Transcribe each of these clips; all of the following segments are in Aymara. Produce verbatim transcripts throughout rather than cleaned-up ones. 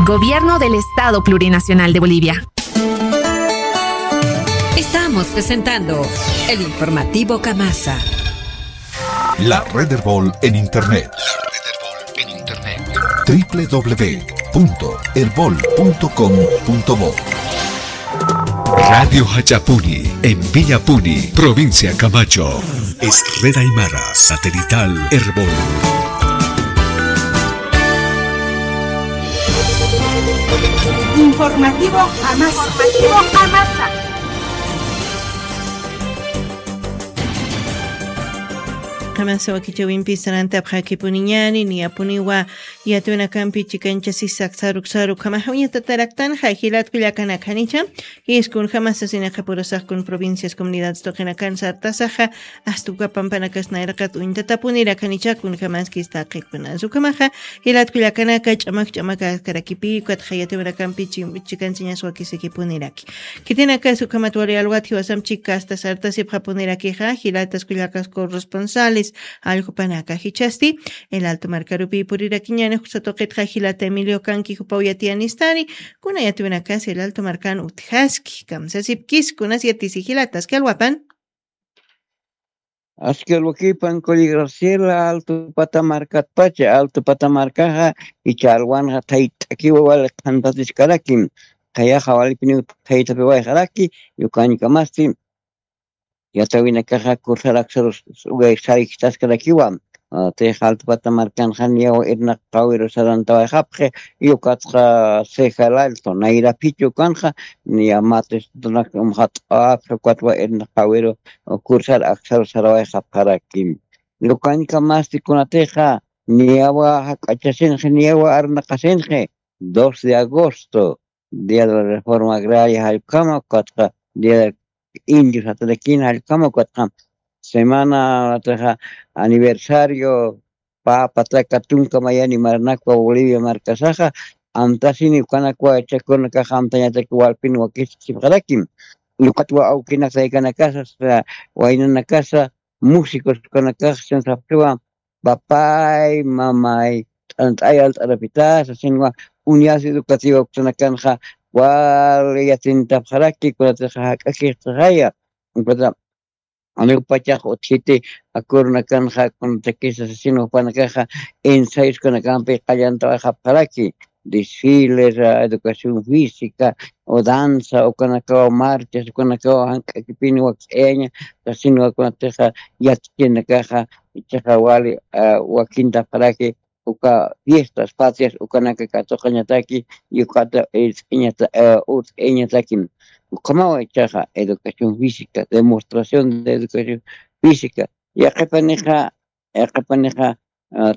Gobierno del Estado Plurinacional de Bolivia. Estamos presentando el informativo Camasa. La red Erbol en internet. La red Erbol en internet. W W W punto erbol punto com punto bo. Radio Hachapuni, en Villapuni, provincia Camacho. Es red aymara satelital Erbol. Informativo Jamasa. Informativo Jamasa. Jamasa wakichawimpi sarantapxakipuniñani, niyapuniwa yatwinakampi chikanchasisa saruk saruk jamaxa uñatataraktanxa jilatkullakanakanicha. Jiskun jamasasinaqa purasaqkun provincias comunidades tuqinakan sartasaxa, astuka pampanakas nayraqat uñtatapunirakanichakun jamaskis taqikunas ukhamaxa. Jilatkullakanaka ch'amak ch'amak askarakipi ukatxa yatwinakampi chikansiñas wakisakipuniraki. Khitinakas ukhamat wali alwat jiwasamp chika asta sartasipxapunirakixa jilatas kullakas corresponsales allqupanaka jichhasti. El alto markarupi purirakiñani juksatuqitxa jilata emilio kanki jupaw yatiyanistani. Kuna yatwinakas el alto markan utjaski kamsasipkis kunas yatisi jilatas kalwapan. Aski alwakipan kuli graciela alto pata markatpacha alto pata markaxa. Icha alwanxa thayt'akiwa wali qhantatiskaraki. Qayaxa walipiniw thaytapiwayxaraki. Yukañkamasti yatawinakaxa kursar aksarus sarikitaskarakiwa. Tix altpata markanxa niyaw irnaq qawiru sarantawayxapxi. Yukatxa ceja el alto nayraphichu kanxa. Niya mates umxat'apxi ukatwa irnaq qawiru kursar aksaru sarawayxapxaraki. Yukañkamasti kunatixa niyawa jak'achasinxi niyawa arnaqasinxi. Dos de agosto, día de la reforma agraria jallkama ukatxa día de indios jatrakina jallkama ukatxa semana aniversario aniversario. Pä pataka tunka mayani marnakwa bolivia markasaxa amtasini ukanakwa chakunakaxa amtañataki walpin wakisipxarakim. Ukatwa awkinak taykanakasa waynanakasa músicos ukanakaxa sinsapxiwa papay mamay t'ant'ay alt'arapitasa sinwa unidades educativas uksanakanxa wali yatintapxaraki kunatixa jak'akixtixaya. Ukata aniw pachax utjiti akurunakanxa kunatakisa sasinwa jupanakaxa ensayos ukanakampi qallantawayxapxaraki. Desfiles educación física o danza ukanakawa marchas ukanakawa jank'akipini wakch'ayaña. Sasinwa kunatixa yatchinakaxa ichaxa wali wakintapxaraki uka fiestas patrias ukanaka katuqañataki. Yukata irt'iñata urt'iñatakim. Ukhamawa ichaxa educación física demostración de educación física. Yaqipanixa yaqipanixa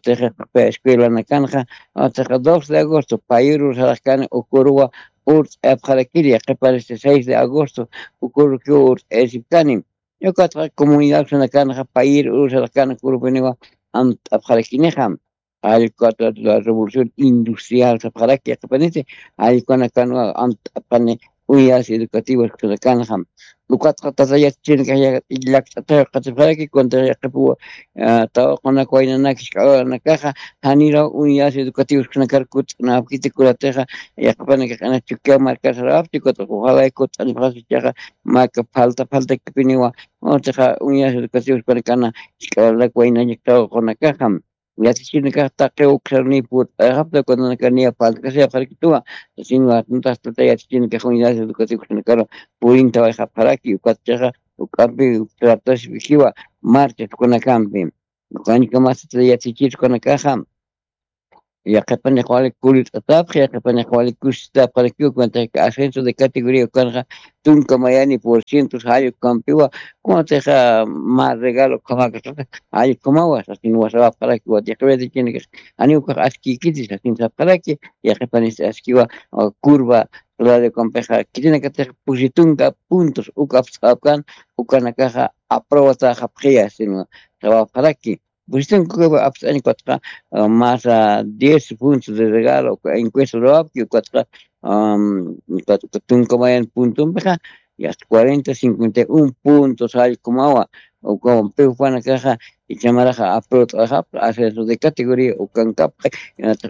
tixiqpi escuelanakanxa tixa dos de agosto payuru saraxkani ukuruwa urt'apxarakiri yaqipanisti seis de agosto ukurukiw urt'ayasipkani. Ukatxa comunidad sanakanxa payir urusarakan kurupiniwa amt'apxarakinixa. Allkata la revolución industrial sapxaraki yaqapaniti allkanakanwa amt'apxani. Unidades educativas sanakanxa ukatxa tata yatachinaka llakt'ataw qatipxaraki kunata yaqipuwa tawaqunaka waynanaka isk'awanakaxa janiraw unidades educativas kunakar kut'napkiti kunatixa yaqapanaka q'ana chukiyaw markar sarawapti ukatxa ojalay kut'anipxasi ichaxa maka falta faltakipiniwa. Utixa unidades educativas kunakana isk'awanak waynañaktaw qunakaxa yatichirnakax taqiw uksarniy purt'ayxapta kunanakaniya palt'kasayapxarakituwa. Sasinwa tuntas tata yatichirnakax unidades educativas kunakana purintawayxapxaraki ukatchaxa uk'ampi uktartasipixiwa marchas kunakampi. Ukañkamasti tata yatichir kunakaxa yaqipaniq wali kulit'atapxi yaqipaniq wali kusistapxarakiw kunataka ascenso de categoría ukanxa tunka mayani por cientos jallku kampiwa. Kunatixa mä regalo ukhamakasata jallkumawa sasin wasawapxaraki watiqawayatichinakas janiw ukax askïkiti sasin sapxaraki. Yaqipanisti askiwa curva radio kampixa khitinakatix pusi tunka puntos uk apst'apkan ukanakaxa aprobatäxapxiya sasin sawapxaraki. Pues tengo que apst'añ ukatxa masa diez puntos de regalo encuesta ruwapki ukatxa tunka mayan puntompixa yasta cuarenta cincuenta y un puntos jallkumawa. ukawan piw panakaxa ichamaraxa apruta ajapta ascenso de categoría ukankapxa.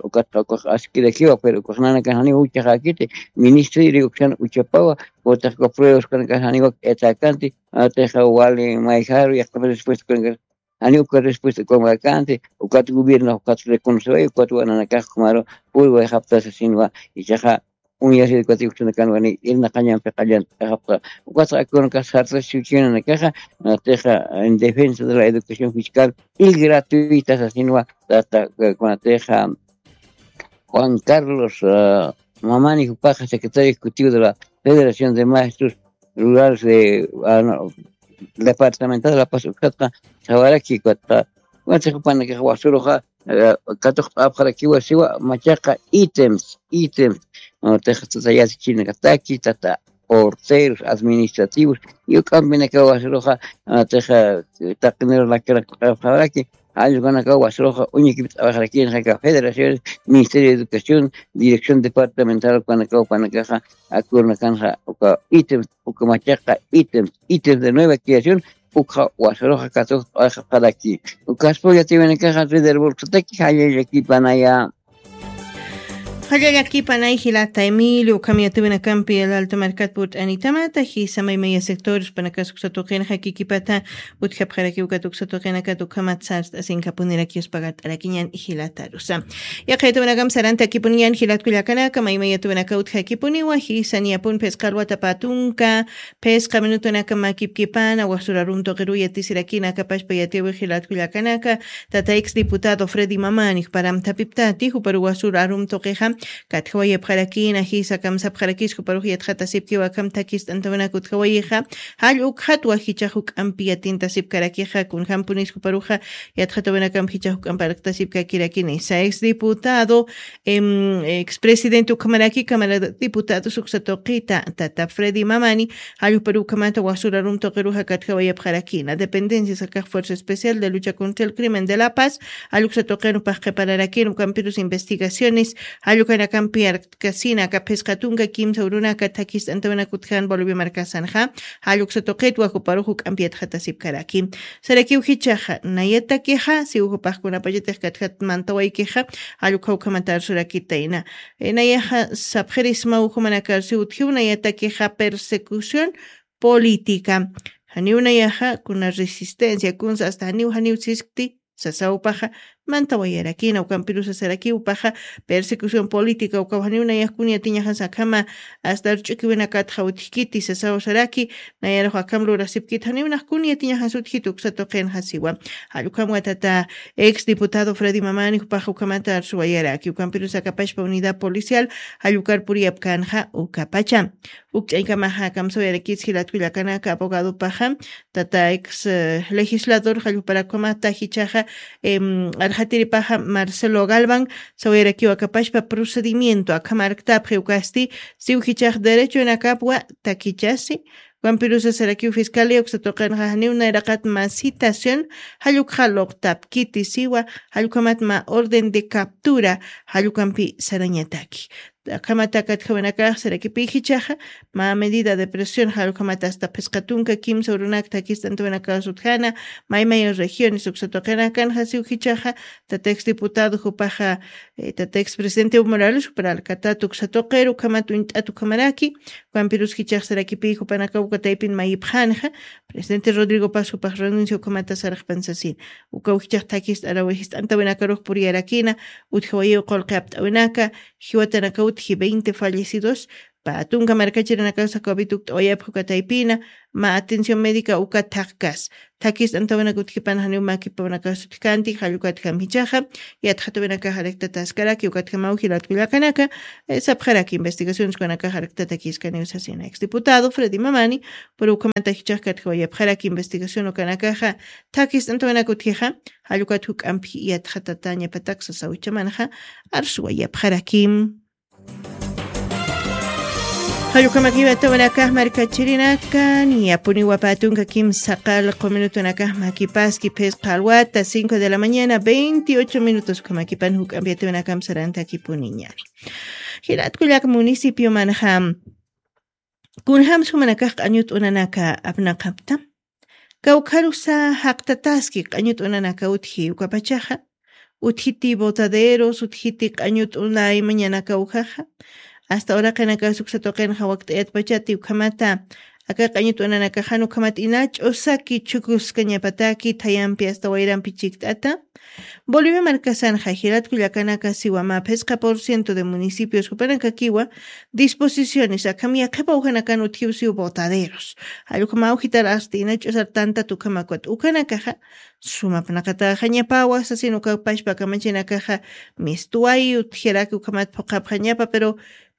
Ukat ukax askirakiwa pero ukaxnanakan janiw uchaxakiti ministerio uksan uchapawa. Utax uka pruebas kanakax janiwak etakanti. Atixa wali mayjaru yaqtapa respuesta kanakax jani uka respuesta ukamakakänti. Ukat gobierno ukat reconoceway ukat wananakax ukhamaru puriwayxapta sasinwa. Ichaxa uñasir ukat uksunakan wani irnaqañampi qallant'axapta. Ukat akunakax sartasiwchinanakaxa atixa en defensa de la educación fiscal y gratuita sasinwa tata kunatixa Juan Carlos Mamani jupaxa secretario ejecutivo de la Federación de Maestros Rurales de departamental de La Paz uksatqa sawaraki kata. Wantix jupanakax wasuruxa katuqt'apxarakiwa siwa machaqa ítems ítems. Wantix tata yatichinaktaki tata porteros administrativos y uk'ampinakaw wasuruxa wantix taqinirux lakirakxaraki. Jallqanakaw wasuruxa uñikipt'awaxarakinxaka federaciones, ministerio de educación, dirección departamental ukanakaw panakaxa akurnakanxa uka ítems uka machaqa ítems ítems de nueva creación. Ukxa wasuruxa katuqt'awaxaraki. Ukaspa yatiwinakaxa red del bolsataki jallallakipanaya. Jallallakipanay jilata Emilio ukham yatiwinakampi alalta markat purt'anitamata jisa maymaya sectores panakas uksa tuqinxa kikipata utjapxaraki ukat uksa tuqinakat ukhamat sart'asinkapunirakius pagart'arakiñan jilatarusa. Yaqayatuwinakam sarantakipuniñan jilatkullakanaka maymayatuwinaka utjakipuniwa jisa niyapun phisqa alwata patunka phisqa minutunaka makipkipana wasurarum tuqiruya tisirakina akapashpa yatiwi jilatkullakanaka. Tata ex diputado Freddy Mamani juparam thapiptati juparu wasur arum tuqixa katjawayapxarakina jisa kamsapxarakis juparux yatxatasipkiwa akham thakist'antawinak utjawayixa. Jall ukxatwa jichax juk'ampi yatintasipkarakixa kunjampunis juparuxa yatxatawinakamp jichax juk'amp arqtasipkakirakini sa ex diputado expresidente ukhamaraki cámara diputados uksa tuqita tata Freddy Mamani jallukparu ukhamata wasurarum tuqiruxa katjawayapxarakina dependencias akax fuerza especial de lucha contra el crimen de La Paz jalluksa tuqirupax qhipararakiru ukampirus investigaciones jallukanakampi arqtkasina aka phisqa tunka kimsa urunaka thakist'antawinak utjan Bolivia markasanxa jalluksa tuqitwa juparux juk'ampi yatxatasipkaraki. Sarakiw jichaxa nayatakixa siw jupaqkunapachatix katjat mantawaykixa jallukha ukhamata arsurakitayna. Nayaxa sapxirisma ujumanakar siw utjiw nayatakixa persecución política. Janiw nayaxa kuna resistencia kunsa asta janiw janiw siskti sasawpaxa mantawayarakina ukampirusasarakiwpaxa persecución política ukaw janiw nayax kun yatiñaxas akhama asta arch'ukiwinakatxa utjkiti sasaw saraki. Nayarux akham lurasipkit janiw nax kun yatiñaxas utjkit uksa tuqinxa siwa. Jallukhamwa tata ex diputado Freddy Mamani jupax ukhamata arsuwayaraki ukampirus akapashpa unidad policial jallukar puriyapkänxa ukapacha. Ukch'aykamaxa kamsawayarakis jilatkullakanaka abogadopaxa tata ex legislador jallukparakukamata jichaxa arxatiripaxa Marcelo Galvan sawayarakiw akapashpa procedimiento akham arktapxi ukasti siw jichax derechonakapwa takichasi. Ukampirusasarakiw fiscalía uksa tuqinxa janiw nayraqat mä citación jallukxa luqtapkiti siwa jallukhamat mä orden de captura jallukampi sarañataki. Akhamata katjawinakax sarakipi jichaxa mä medida de presión jallukhamata asta phisqa tunka kimsa urunak thakist'antawinakax utjana maymay regiones uksa tuqinakanxa siw jichaxa tata ex diputado jupaxa tata ex presidente Evo Morales jupar alkatat uksa tuqiru ukhamat uñt'at ukhamaraki. Ukampirus jichax sarakipi jupanakaw uka taypin mayipxänxa presidente Rodrigo Paz jupax renuncia ukhamata sarxpan sasin. Ukaw jichax thakist'arawi jist'antawinakarux puriyarakina utjawayiw qullqi apt'awinaka jiwatanaka utji veinte fallecidos. Pä tunka markachirinakax covid ukt'awayapxi uka taypina mä atención médica uka thaqkas thakist'antawinak utjipan janiw makipawnakax utjkanti jallukatjam jichaxa yatxatawinakax arektataskaraki ukatjamaw jilatkullakanaka sapxaraki investigaciones ukanakax arektatakiskaniw sasina ex diputado Freddy Mamani. Pero ukhamata jichax katjawayapxaraki investigación ukanakaxa thakist'antawinak utjixa jallukat juk'ampi yatxatatañapatak sasaw ichamanxa arsuwayapxarakim. Jallukamakiwatawinakax markachirinaka niyapuniwa pä tunka kimsa qallqu minutunakax makipaski phisqa alwata cinco de la mañana veintiocho minutos ukhamakipan juk'ampi yatawinakam sarantakipuniñari. Jilatkullak municipiomanxa kunjam sumanakax q'añut unanaka apnaqapta Kawkharusa jaqtataski q'añut'unanaka utji ukapachaxa, utjiti botaderos, utjiti q'añut'una ima ñanaka ujaxa. Hasta uraqinaka suksa tuqinxa wakt'ayatpachati ukhamata, aka q'añut'unanakaxan ukhamat ina ch'usaki chukuskañapataki thayampi hasta wayrampi chikt'ata. Bolivia markasanxa jilatku llakanaka siwa mä phisqa por ciento de municipios jupanakakiwa disposiciones akham yaqhipa ujanakan utjiw siw botaderos. Jallukama ujitar hasta ina ch'usar tantat ukhamakwat ukanakaxa sumapnaqataxañapawa sasin ukapashpa kamachinakaxa mistuwayi utjiraki ukhamat phuqhapxañapa, pero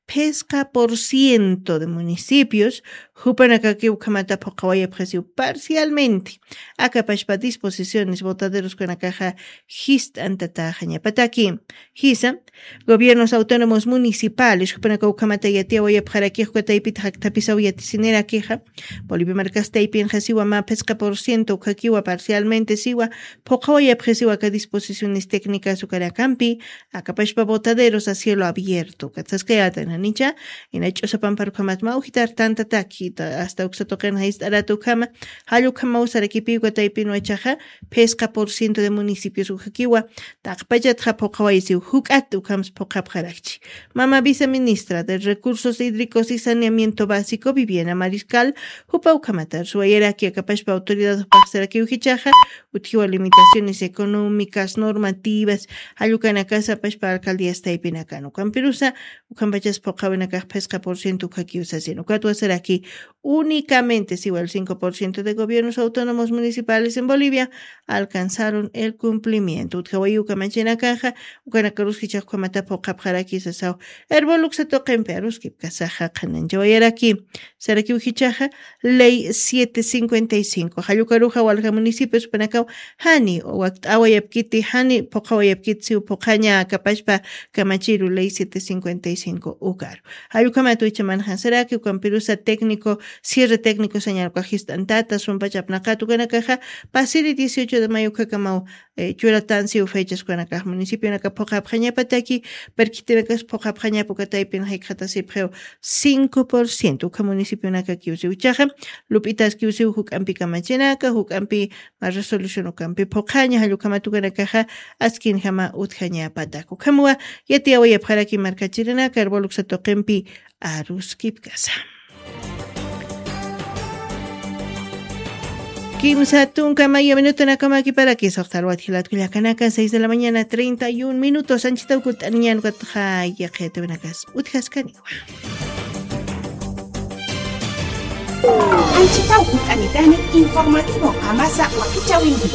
phisqa por ciento de municipios jupanakaki ukhamata phuqhawayapxasiw parcialmente. Akapashpa disposiciones botaderoskunakaxa jist'antataxañapataki. Jisa, gobiernos autónomos municipales jupanaka ukhamata yatiyawayapxaraki jukataypita jakthapisaw yatisinirakixa, Bolivia markasta aypinxasiwa mä phisqa por ciento ukhakiwa parcialmente siwa phuqhawayapxisiwa aka disposiciones técnicas ukanakampi, akapashpa botaderos a cielo abierto katsaskayata nanicha, ina ch'usapamparukhamat mä ujitar tantataki hasta uksa tuqinxa jist'arata ukhama, jallukhamaw sarakipiw kataypinwa chaxa phisqa por ciento de municipios ukhakiwa taqpachatxa phuqhawaysiw juk'at ukhams phuqhapxarakchi. Mama viceministra de Recursos Hídricos y Saneamiento Básico, Viviana Mariscal, jupa ukhamatar suwayaraki akapashpa autoridad paqsarakiw jichaxa, utjiwa limitaciones económicas, normativas, jallukanakasa apashpa alcaldías taypinakan. Ukampirusa, ukhampachas phuqhawinakax phisqa por ciento ukhakiw sasin. Ukatwa saraki únicamente siwa el cinco por ciento de gobiernos autónomos municipales en Bolivia alcanzaron el cumplimiento. Utjawayi ukamachinakaxa, ukanakarus jichax ukhamata phuqhapxaraki sasaw. Erbol uksa tuqimpi aruskipkasaxa qhananchawayaraki. Sarakiw jichaxa, ley siete cincuenta y cinco. Jallukaruxa walja municipios panakaw, jani wakt'awayapkiti, jani phuqhawayapkiti siw phuqhaña akapashpa kamachiru ley siete cincuenta y cinco ukaru. Jallukhamat wichamanxan saraki, ukampirusa técnico, cierre técnico sañarukax jist'antata, sumpach apnaqat ukanakaxa, pasiri dieciocho de mayo ukakamaw, eh, churatan siw fechas ukanakax municipionaka phuqhapxañapataki, perkitinakas phuqhapxañapa ukataypin jikxatasipxiw cinco por ciento, ukha municipionakakiw siw chaxa, lup'itaskiw siw juk'ampi kamachinaka, juk'ampi mä resolución ukampi phuqhaña, jallukhamat ukanakaxa, askinjama utjañapatak. Ukhamwa, yatiyawayapxaraki markachirinaka, erbol uksa tuqimpi aruskipkasa. Kimsa tunka mayo minutonakamakiparakisax, talwat jilatku llakanaka, seis de la mañana, treinta y un minutos, anchitaw kutt'aniñan ukatxa yaqhitawinakas utjaskaniwa. Anchitaw kutt'anitani informativo Kamasa wakichäwinti.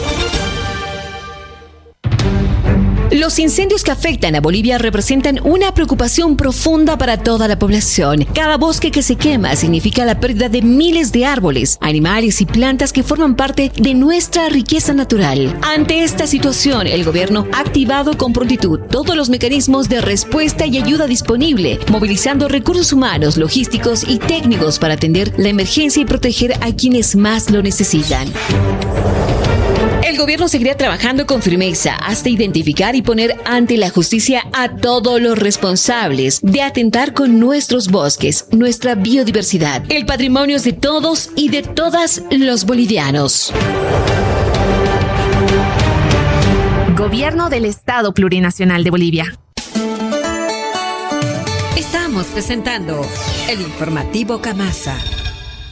Los incendios que afectan a Bolivia representan una preocupación profunda para toda la población. Cada bosque que se quema significa la pérdida de miles de árboles, animales y plantas que forman parte de nuestra riqueza natural. Ante esta situación, el gobierno ha activado con prontitud todos los mecanismos de respuesta y ayuda disponible, movilizando recursos humanos, logísticos y técnicos para atender la emergencia y proteger a quienes más lo necesitan. El gobierno seguirá trabajando con firmeza hasta identificar y poner ante la justicia a todos los responsables de atentar con nuestros bosques, nuestra biodiversidad, el patrimonio de todos y de todas los bolivianos. Gobierno del Estado Plurinacional de Bolivia. Estamos presentando el informativo Kamasa.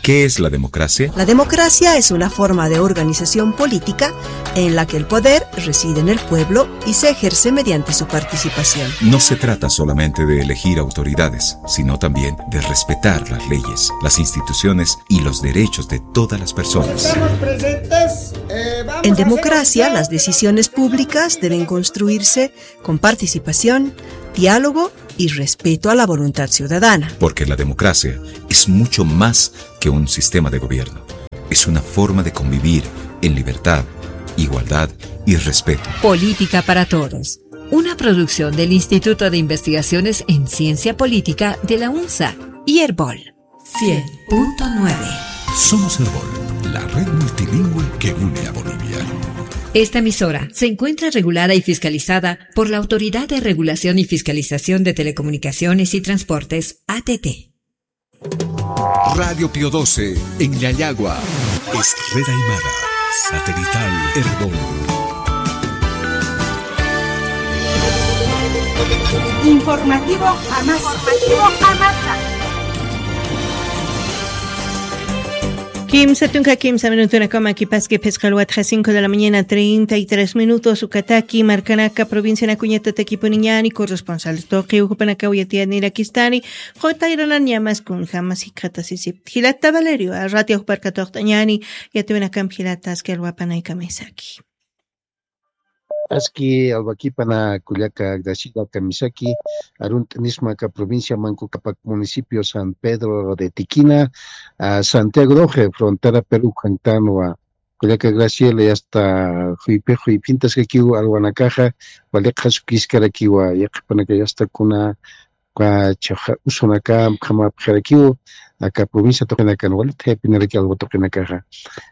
¿Qué es la democracia? La democracia es una forma de organización política en la que el poder reside en el pueblo y se ejerce mediante su participación. No se trata solamente de elegir autoridades, sino también de respetar las leyes, las instituciones y los derechos de todas las personas. Estamos presentes, eh, vamos En a hacer democracia, las decisiones públicas deben construirse con participación, diálogo y respeto a la voluntad ciudadana. Porque la democracia es mucho más que un sistema de gobierno. Es una forma de convivir en libertad, igualdad y respeto. Política para Todos, una producción del Instituto de Investigaciones en Ciencia Política de la UNSA y Erbol. Cien punto nueve. Somos Erbol, la red multilingüe que une a Bolivia. Esta emisora se encuentra regulada y fiscalizada por la Autoridad de Regulación y Fiscalización de Telecomunicaciones y Transportes, A T T. Radio Pío doce, en Yayagua. Es Red Aymara, satelital Erbol. Informativo Amasa. Informativo Amasa. Kimsa tunka kimsa minutunakama kipaski, phisqa alwatxa cinco de la mañana, treinta y tres minutos. Ukataki markanaka provincianakuñatatakipuniñani, corresponsal tuqiw jupanakaw yatiyanirakistani. Qutayranan ñamas kunjamas jikxatasisipti. Jilata Valerio, a ratio juparka tuqt'añani, yatiwinakampi jilata aski alwapanay kamisaki. Aski alwakipana kullaka Graciela kamisaki, arunt'nisma aka provincia Manco Capac, municipio San Pedro de Tiquina, a Santiago Doce, frontera Perú, kantanwa. Kullaka Graciela, y hasta juypi, juypintaskakiw alwanakaxa, waliqha sukiskarakiwa, yaqhipanaka, y hasta kuna, kwa chaxa usunaka, khamapxarakiw, aka provincia tuqinakan, walit jaypinaraki alwa tuqinakaxa.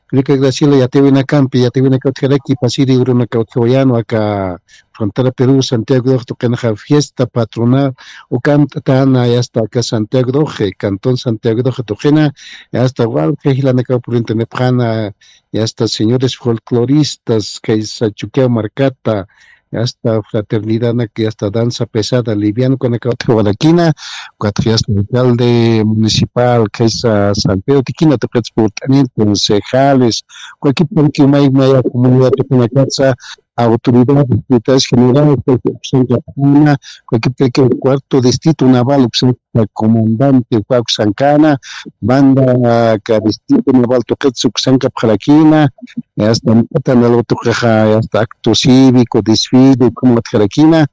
Kullaka Graciela, yatiwinakampi, yatiwinaka utjaraki, pasiri urunaka utjawayan, aka frontera Perú, Santiago Doce tuqinaxa fiesta patronal, ukamt'atana, y hasta aka Santiago Doce, cantón Santiago Doce tuqina, y hasta walja jilanakaw purintanipxana, y hasta señores folcloristas, kaysa Chukiyaw markata, y hasta fraternidadnak, y hasta danza pesada, liviano, ukanakaw utjawarakina, ukatxa y hasta alcalde municipal, kaysa San Pedro Tiquina tuqitsa purt'anin, concejales, cualquier, porque may, maya comunidad tuqinakatsa, autoridades, secretarios generales, uksanka p'ana, cualquier, cualquier cuarto distrito naval, uksanka comandante, uksankana, banda, ka distrito naval tuqitsa uksankapxarakina, hasta matan algo tuqixa, hasta acto cívico, desfile, como utjarakina,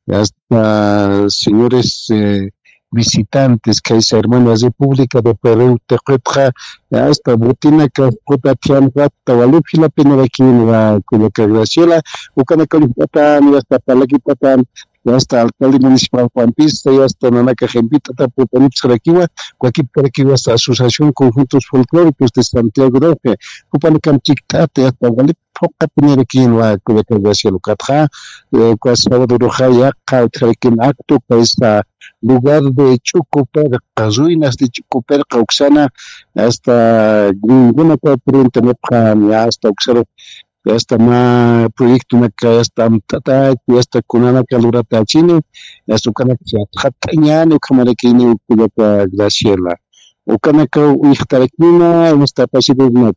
hasta señores, eh, visitantes, kaysa hermana República de Perú tuqitxa, hasta botinaka, puta tiempo, hasta walip jilapinarakin, la kullaka Graciela, ukanaka lipatan, hasta parlakipatan, y hasta alcalde municipal Juan Pista, y hasta nanaka jempitata putanipsarakiwa, cualquier hasta Asociación Conjuntos Folclóricos de Santiago Roque, jupanakam chikt'ata, y hasta walip phuqapinirakiwa, kullaka Graciela, ukatxa, eh, uka sábado ruxa, yaqha utjarakin acto, kaysa lugar de Ch'uku Pirqa, ruinas de Ch'uku Pirqa uksana, hasta ninguna ka purintanipxan, ya hasta uksaru, ya hasta mä proyectonaka, ya hasta amtataki, ya hasta kunanaka luratachini, ya hasta ukanaka yatxatañani, ukhamaraki ini kullaka Graciela. Ukanaka uyxtarakina, ya hasta pasirurnak.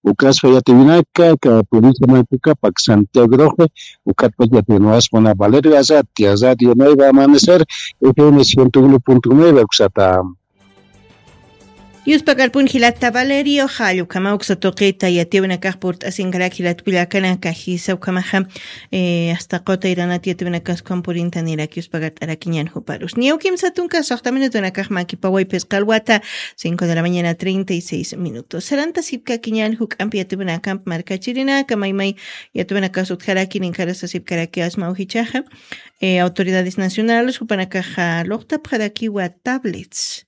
Ukaspa yatiwinaka, ka provincia Manco Capac, Santiago Roque, ukatpa yatiwinwasmana Valerio Azati, Azati, Nueva Amanecer, F M ciento uno punto nueve, uksata. Yuspakarpun jilata Valerio, jallukama uksa tuqita, yatiwinakax purt'asinkarak jilat kullakanaka, jisa ukhamaxa, eh, hasta qutayranat yatiwinakas ukham purintaniraki, yuspakart'arakiñan juparus. Niyaw kimsa tunka suxta minutunakax makipaway phisqa alwata, cinco de la mañana, treinta y seis minutos. Saranta sipkakiñan juk'ampi yatiwinakamp markachirinaka, maymay yatiwinakas utjaraki, ninkarasa sipkaraki asma ujichaxa, eh, autoridades nacionales, jupanakaxa luqtapxarakiwa tablets.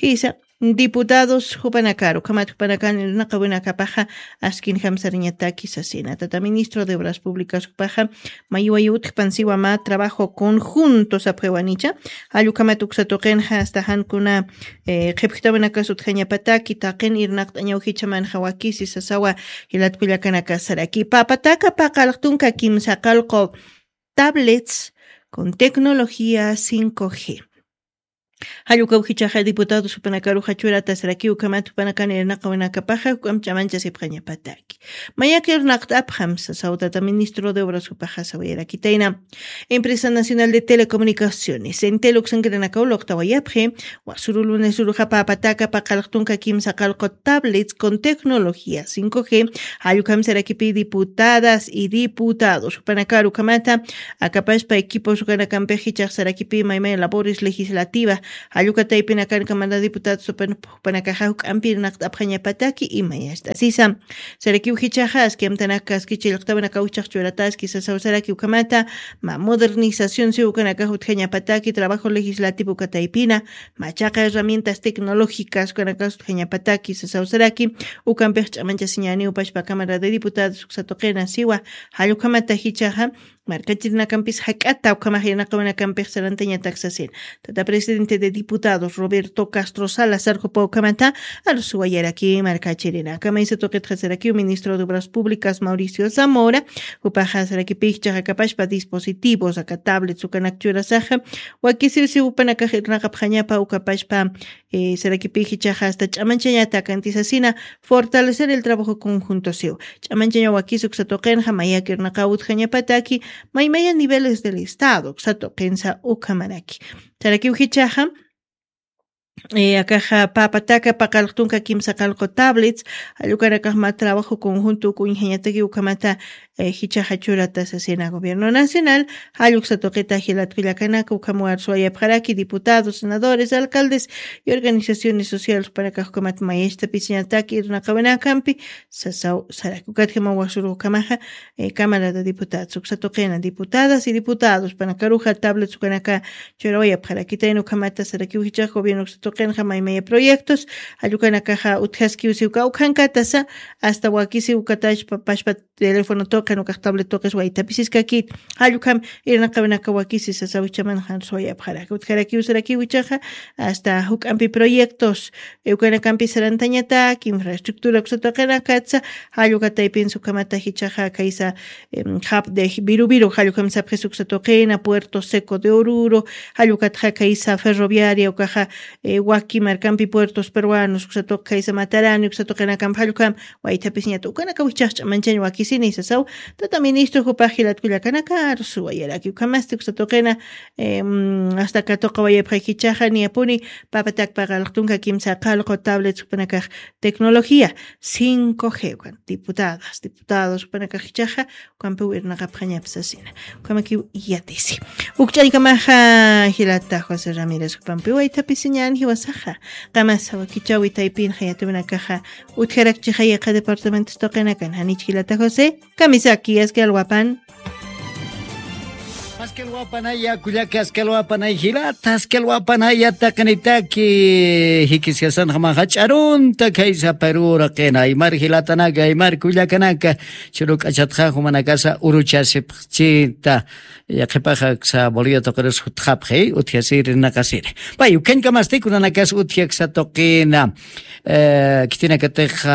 Jisa, diputados, jupanakaru, ukhamat jupanakan irnaqawinakapaxa, askin jamsariñataki sasina. Tata ministro de Obras Públicas jupaxa, mayuwayu utjpan siwa mä trabajo conjunto sapxiwanicha, jallukhamat uksa tuqinxa hasta jankuna, eh, qhipjtawinakas utjañapataki, taqin irnaqt'añaw jichamanxa wakisi sasawa, jilat kullakanakasaraki. Papataka paqalqtunka kimsa qalqu tablets con tecnología cinco G. Jallukaw jichaxa diputados jupanakaruxa churatasaraki, ukhamat jupanakan irnaqawinakapaxa, juk'amp ch'amanchasipxañapataki. Mayak irnaqt'apxam sasaw tata ministro de Obras jupaxa sawayarakitayna. Empresa Nacional de Telecomunicaciones, Entel uksankirinakaw luqtawayapxi, wasuru lunes uruxa papataka paqalqtunka kimsa qalqu tablets con tecnología cinco G, jallukhamsarakipi diputadas y diputados, jupanakaru ukhamata, akapaspa equipos ukanakampix jichaxsarakipi maymay labores legislativa, jallukataypinakan Cámara de Diputados jupan-, jupanakaxa juk'ampi irnaqt'apxañapataki, imayast'asisa. Sarakiw jichaxa, aski amtanaka, aski chillqtawinakaw jichax churataski sasaw sarakiw ukhamata, mä modernización siw ukanakax utjañapataki, trabajo legislativo ukataypina, machaqa herramientas tecnológicas ukanakas utjañapataki sasaw saraki, ukampix ch'amanchasiñaniw pachpa Cámara de Diputados uksa tuqina siwa, jallukhamata jichaxa, markachirnakampis jak'ata ukhamax irnaqawanakampix sarantañatak sasin. Tata presidente de diputados Roberto Castro Salazar jupa ukhamata arusuwayaraki markachirinaka maysa tuqitxasarakiw ministro de obras públicas Mauricio Zamora, jupaxa sarakipixchaxa kapashpa dispositivos aka tablets ukanak churasaxa wakisiwsi upanakax irnaqapxañapa ukapashpa. Sarakipixchaxa asta ch'amanchañata kantisasina fortalecer el trabajo conjunto siw ch'amanchaña wakis uksatuqinxa mayakirnaqa utjañapataki maymaya niveles del estado uksatuqinsa ukhamaraki. Sarakiwjichaxa akaxa papataka paqalqtunka kimsa qalqu tablets allukanakaxma trabajo conjunto ukunjañataki ukhamata jichaxa churata sasina gobierno nacional. Jalluksa tuqita jilatkullakanaka ukhamuwar suwayapxaraki diputados senadores alcaldes y organizaciones sociales panakaxkumat mayesta pisiñataki irnaqawinakampi sasaw saraki ukatjama wasuru ukhamaxa. Cámara de diputados uksa tuqina diputadas y diputados panakaruxa tablets ukanaka churawayapxarakitayna ukhamata sarakiw jichax gobierno uksa tuqinxa maymaya proyectos jallukanakaxa utjaskiwsi uka ukhankatasa asta wakisi ukatashpa pashpa teléfono tuqin ukax tablet tuqis waytapisiskakit. Jallukam irnaqawinaka wakisi sasawichaman janswayapxaraki utjarakiw sarakiw ichaxa asta juk'ampi proyectos ukanakampi sarantañatak infraestructura uksatuqinakatsa. Jallukataypinsa ukhamata jichaxa kaysa jap de viruviru jallukam sapxis uksatuqina puerto seco de oruro jallukatxa kaysa ferroviaria ukaxa waki markampi puertos peruanos uksatuq kaysa matarani uksatuqinakampi jallukam waythapisñata ukanaka wichhaxch'a manchañ wakisini sasaw. Tata ministro jupax jilatkullakanaka rusuwayaraki ukhamasti uksatuqina asta katuqa wayapxaykichaxa niyapuni papatak paqalqtunka kimsa qalqu tablets jupanakax tecnología cinco g ukan diputadas diputados jupanakax jichaxa ukampiw irnaqapxañapsasina. Ukamakiw yatisi ukch'añkamaxa jilata josé ramírez jupampiw waythapisiñan jiwasaxa qamasa wakichawi taypinxa yatuminakaxa utjarakchixa yaqa departamentos tuqinakan janich jilata josé kamisaki askalwapan. Askalwapanaya kullaka askalwapanay jilata askalwapanaya taqinitaki jikiskasanxa maxa ch'arunta khaysa perura qina aymar jilatanaka aymar kullakanaka churuk'achatxa jumanakasa uruchasipxchita. Yaqhipaxa aksa bolivia tuqiris jutxapxi utjasiri rinaqasiri pay ukhañkamasti kunanakas utji aksa tuqina. Khitinakatix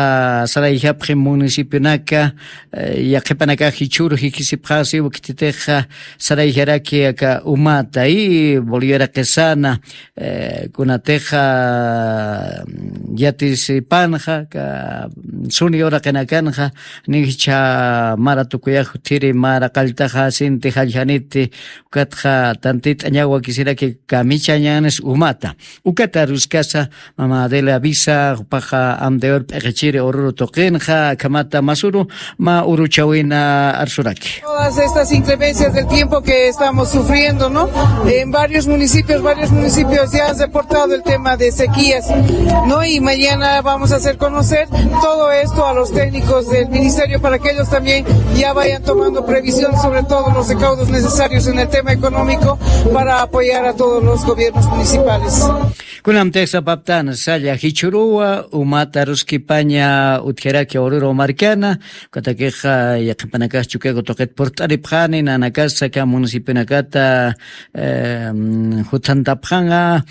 sarayjapxi municipionaka yaqhipanakax jichhuru jikisipxasiw khititix sarayjaraki aka umata y bolivia raqisana kunatix yatisipanxa aka suni uraqinakanxa nichha mara tukuyax juthiri mara qalltaxa sinti jalljaniti ukatxa tantit'añaw wakisiraki kamichañanis umata. Ukata aruskasa mama adela avisa jupaxa amdeor p'iqichiri ururu tuqinxa akhamata masuru ma uruchawina arsuraki. Todas estas inclemencias del tiempo que estamos sufriendo, ¿no? En varios municipios, varios municipios ya han reportado el tema de sequías, ¿no? Y mañana vamos a hacer conocer todo esto a los técnicos del ministerio para que ellos también ya vayan tomando previsión sobre todos los recaudos necesarios en el tema económico para apoyar a todos los gobiernos municipales. Kunamtix sapaptan salla jichhuruwa umata ruskipaña utjaraki ururu markana ukatakixa yaqhipanakax chukiku tuqit purt'aripxani nanakasa aka municipionakata juthantapxanxa.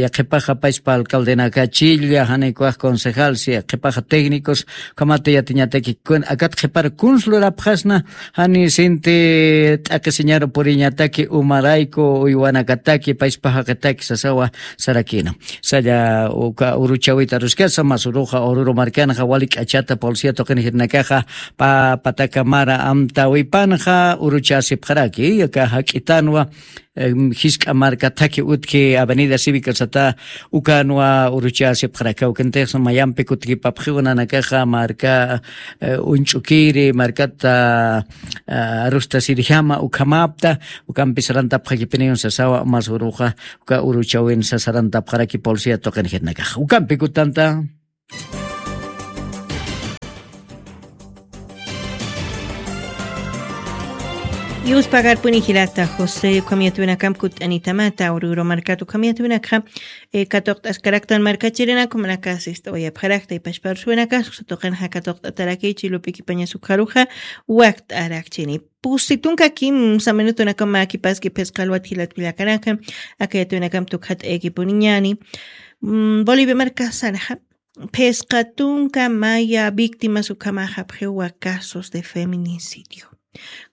Yaqhipaxa pachpa alcaldenakachilla janikuwax concejal si yaqhipaxa técnicos ukhamata yatiñataki akat qhipar kunslurapxasna jani sinti t'aqisiñaru puriñataki umarayku uywanakataki pachpa jaqitaki sasawa sarakina. Salla uka uruchawita aruskasa masuruxa ururu markanxa wali k'achata polcia tuqin jirnakaxa pa pataka mara amtawipanxa uruchasipxaraki aka jak'itanwa jisk'a marka thaki utki avenida cívica sata ukanwa uruchasipxaraki awkintix mayampi kutkipapxiw nanakaxa marka uñch'ukiri markata arustasirjama ukhamapta ukampi sarantapxakipiniw sasawa masuruxa uka uruchawin sasarantapxaraki polcia tuqin jirnakaxa ukampi kutanta. Yuspagarpuni jilata José, ukham yatwinakamp kut'anitamata, Oruro markat ukham yatwinakxa, eh, katuqt'askaraktan markachirinaku, manaka sist'awayapxarakta, ipashpa arsuwinakas, uksa tuqinxa katuqt'ataraki, chilup'ikipañas ukxaruxa, wakt'arakchini. Pusi tunka kimsa minutunakama kipaski phisqa alwat jilat kullakanaka, aka yatwinakamp tukxat'ayakipuniñani. Mm, Bolivia markasanxa, phisqa tunka maya víctimas ukhamaxapxiwa casos de feminicidio.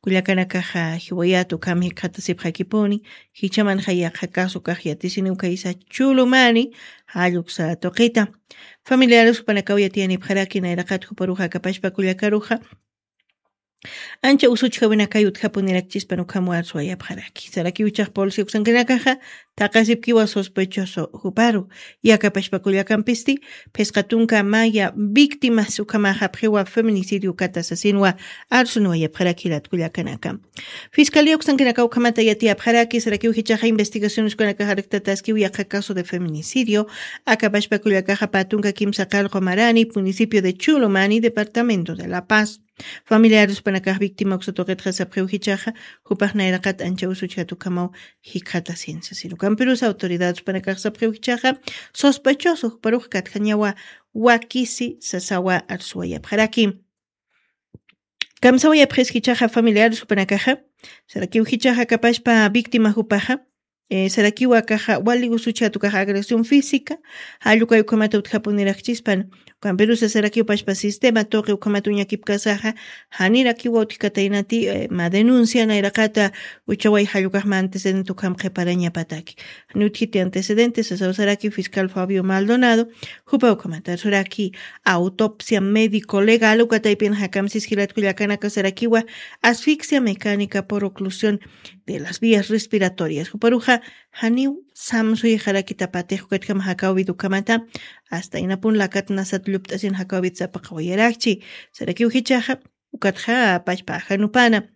Kullakanakaxa jiwayat ukham jikxatasipxakipuni, jichhamanxa yaqha caso kax yatisini ukhaysa Chulumani, jall uksa tuqita. Familiares jupanakaw yatiyanipxaraki nayraqat juparuxa akapashpa kullakaruxa, ancha usuchjawinakay utjapunirakchispan ukham arsuwayapxaraki. Sarakiw jichhax policía uksankanakaxa, thaqasipkiwa sospechoso juparu, akapashpa kullakampisti, phisqa tunka maya víctimas ukhamaxapxiwa feminicidio ukata sasinwa arsunwayapxaraki jilat kullakanaka. Fiscalía uksankanaka ukhamata yatiyapxaraki, sarakiw jichhaxa investigaciones ukanakax arktataskiw yaqha caso de feminicidio, akapashpa kullakaxa pä tunka kimsa qallqu marani, municipio de Chulumani, departamento de La Paz. Familiares jupanakax víctima uksa tuqitxa sapxiw jichhaxa, jupax nayraqat ancha usuchjat ukhamaw jikxatasin sasin. Ukampirusa autoridades jupanakax sapxiw jichhaxa, sospechoso juparux katjañawa wakisi sasawa arsuwayapxaraki. Kamsawayapxis jichhaxa familiares jupanakaxa, sarakiw jichhaxa akapashpa víctima jupaxa, eh, sarakiw akaxa wali usuchjat ukax agresión física, jall ukay ukhamata utjapunirakchispan, ukampirusa sarakiw pashpa sistema tuqi ukhamata uñakipkasaxa, janirakiwa utjkataynati, eh, mä denuncia nayraqata uchaway jall ukax mä antecedente ukham qhiparañapataki. Janiw utjiti antecedente sasaw saraki fiscal Fabio Maldonado, jupa ukhamata arsuraki autopsia médico legal uka taypinxa kamsis jilat kullakanaka sarakiwa asfixia mecánica por oclusión de las vías respiratorias. Juparuxa janiw samsuyxarakitapatix ukatjam jakawit ukhamata, hasta inapun lakat nasat llupt'asin jakawit sapaqawayarakchi. Sarakiw jichhaxa, ukatxa pashpa ajanupana,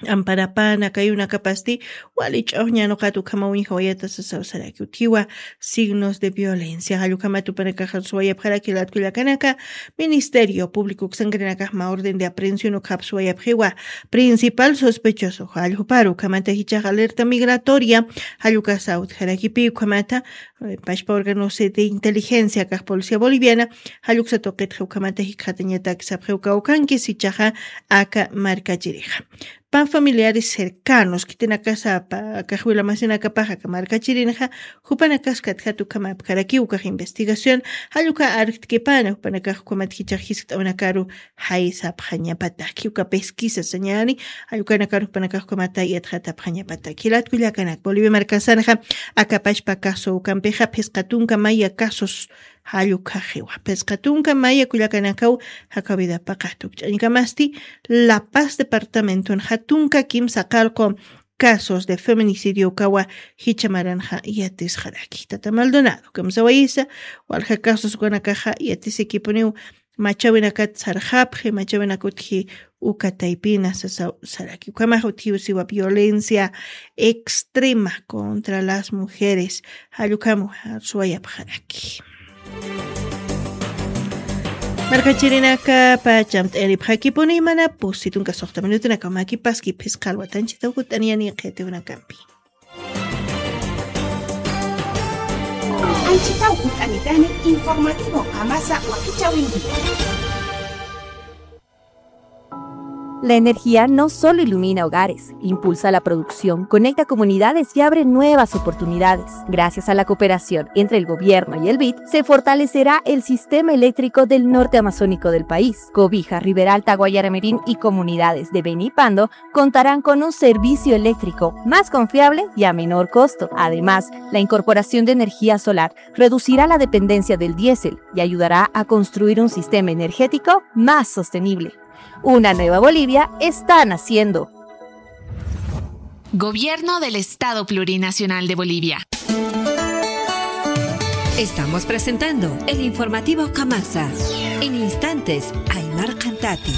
amparapana, kayunakapasti, wali ch'uxña nuqat ukhama uñjawayata sasaw saraki utjiwa, signos de violencia. Jall ukhamat jupanakax arsuwayapxaraki jilat kullakanaka, Ministerio Público uksankanakax mä orden de aprehensión ukhap suwayapxiwa, principal sospechoso, jall juparu ukhamata jichhax alerta migratoria, jall ukasa utjarakipi ukhamata, eh, pashpa órganos de inteligencia kax Policía Boliviana, jall uksa tuqitxa ukhamata jikxatañatak sapxiw kawkhanki jichhaxa aka markachirixa. Pä familiares cercanos, khitinakasa pä, kax wila masinakapax aka markachirinxa, jupanakas katjat ukham apkarakiw ukax investigación, jall uka arkt'kipana, jupanakax ukhamat jichhax jiskt'awnakaru jaysapxañapataki, uka pesquisa sañani, jall ukanakaru jupanakax ukhamata yatxatapxañapataki. Jilat kullakanak, Bolivia markasanxa, aka pashpa caso ukampixa, phisqa tunka maya casos, jall ukhaxiwa. Phisqa tunka maya kullakanakaw, jakawidapaqat ukch'añkamasti, La Paz departamentonxa tunka kimsa qallqu casos de feminicidio ukawa jichha maranxa yatisxaraki. Tata Maldonado, kamsawayisa, walja casos ukanakaxa yatisikipuniw machawinakat sarxapxi, machawinakutji uka taypina sasaw saraki. Ukhamax utjiw siwa violencia extrema contra las mujeres. Jall ukham arsuwayapxaraki. Markachirinaka pachamt'ayaripxakipuni mana pusi tunka suxta minutunakaw mä kipaski phisqa alwat anchhitaw jut'aniyani qhitiwinakampi. Anchhitaw jut'anitani informativo qamasa wakichäwinki. La energía no solo ilumina hogares, impulsa la producción, conecta comunidades y abre nuevas oportunidades. Gracias a la cooperación entre el gobierno y el bid, se fortalecerá el sistema eléctrico del norte amazónico del país. Cobija, Riberalta, Guayaramerín y comunidades de Beni y Pando contarán con un servicio eléctrico más confiable y a menor costo. Además, la incorporación de energía solar reducirá la dependencia del diésel y ayudará a construir un sistema energético más sostenible. Una nueva Bolivia está naciendo. Gobierno del Estado Plurinacional de Bolivia. Estamos presentando el informativo Kamasa. En instantes, Aymar Cantati.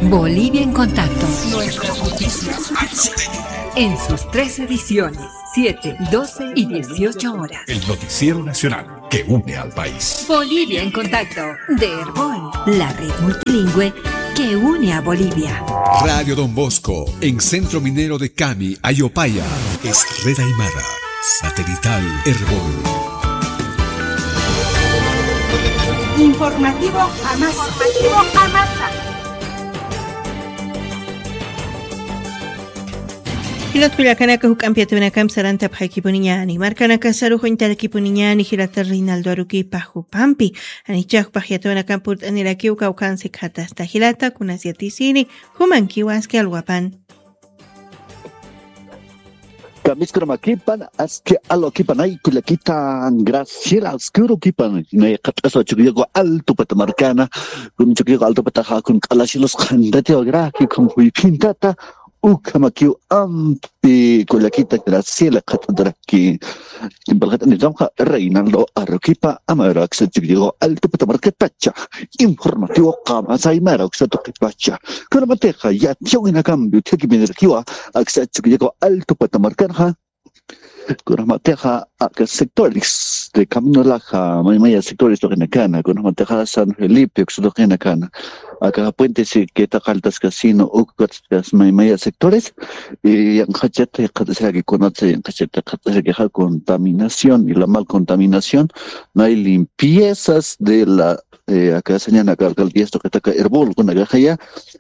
Bolivia en Contacto. Nuestras noticias al sueño. En sus tres ediciones, siete, doce y dieciocho horas. El noticiero nacional que une al país. Bolivia en Contacto, de Erbol, la red multilingüe que une a Bolivia. Radio Don Bosco, en Centro Minero de Cami, Ayopaya. Es Red Aymara, satelital Erbol. Informativo Amasa. Informativo Amasa. Jilat kullakanaka, juk'ampi yatawinakampi sarantapxarakipuniñäni. Markanakasarux uñtarakipuniñäni jilata Reinaldo Aruquipa jupampi. Janicha jupax yatawinakampi purt'anirakiw kawkhansi khatasta jilata, kunas yatisiri, jumankiw aski alwapan. Kamiskaramakipan, aski alwakipan, ay, kullakitan, Graciela, aski urukipan, nay qhat'asa Chukiyawu Alto pata markana, kun Chukiyawu Alto pata jakun k'alasilos qhantatiw agraki, kun juyphintata, ukhamakiw ampi kullakita Graciela qhat'ataraki. Kimpal qhat'anitamxa Reinaldo Aruquipa, Aymara Uksa Chukiyawu Alto pata markatacha. Informativo Qamasa Aymara Uksa tuqipacha. Kunamatixa yatiyawinakampi utjakipinirakiwa aksa Chukiyawu Alto pata markanxa. Kunamatixa aka sectores de Camino Laja, maymaya sectores tuqinakana, kunamatixa San Felipe uksa tuqinakana. Aka puente Siqueta, Caldas Casino, ukataskas maymaya sectores, y yanqhachata qhat'asiraki, kunatsa yanqhachata qhat'asirakixa contaminación y la mal contaminación, no hay limpiezas de la, eh, aka sañanaka alcaldías tuqitaka Erbol kunakaxaya,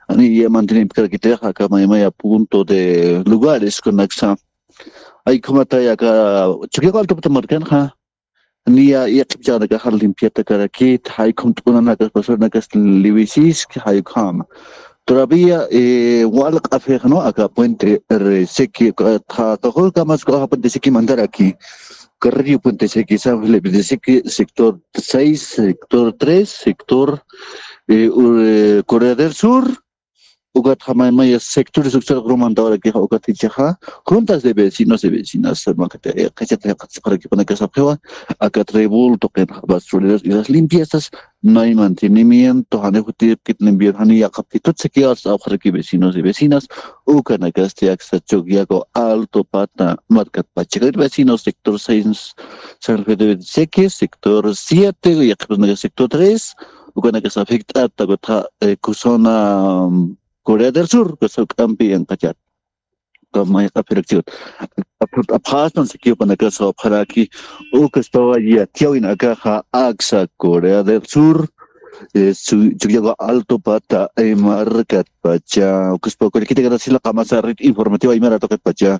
ani ya mantenimiento karakitixa aka maymaya punto de lugares kunaksa. Ay, ukhamatäya aka Chukiyawu Alto pata markanxa, niya yaqhip chhanakaxa limpiata karakit, jay ukham t'unanakas, basuranakas liwisiski, jay ukhama. Todavía, eh, wal q'apix, ¿no? Aka puente, eh, Siqui, aka, aka, aka, aka puente Siqui mantaraki. Carrillo, puente Siqui, San Felipe de Siqui, sector seis, sector tres, sector, eh, ur-, eh, Corea del Sur, ukat maymaya sectores uksa rurmantawarakixa, ukat jichhaxa, juntas de vecinos y vecinas, makata, eh, qhachata, qhachata, qhachata, aka Erbol tuqinxa basureros y las limpiezas, no hay mantenimiento, jani jutipkit limpiar, jani yaqhapkitut siquiera apxaraki vecinos y vecinas, ukanakasti aksa Chukiyawu Alto pata markat pachakat vecinos, sector seis, San Felipe de Siqui, sector siete, yaqhipasanaka sector tres, ukanakasa afect'ata, ukatxa, eh, kusana, mm, Corea del Sur, kasa juk'ampi yanqhachat. Kamay q'aphirakchiwat. Apxastan sikiw ukanakasa apxaraki, ukaspawa yatiyawinakaxa aksa Corea del Sur, eh, Chu-, Chukiyawu Alto pata, eh, markat pacha, ukaspawa kullakita Graciela Qamasa, Red Informativa Aymara tuqit pacha.